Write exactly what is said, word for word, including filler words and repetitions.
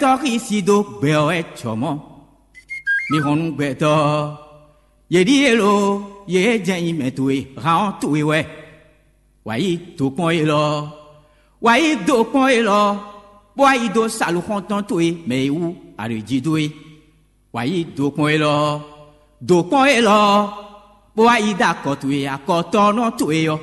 Tɔ́ xísi dó gbɛ ɔ́ wɛ jɔ mɔ̌. Mi hɔn nú gbɛtɔ́ ɔ́, yě ɖíe lo, yě jɛ nyi mɛ towe, han ɔ́ towe wɛ. Wǎ yí do kpɔ́n élɔ́, wǎ yí do kpɔ́n élɔ́, bó wá yi dó saluxɔ́ntɔn towe mɛ e wú a ɖo jí dó é. Wǎ yí do kpɔ́n élɔ́, do kpɔ́n élɔ́, bó wá yi dó akɔ towe akɔtɔ́nɔ towe ɔ́.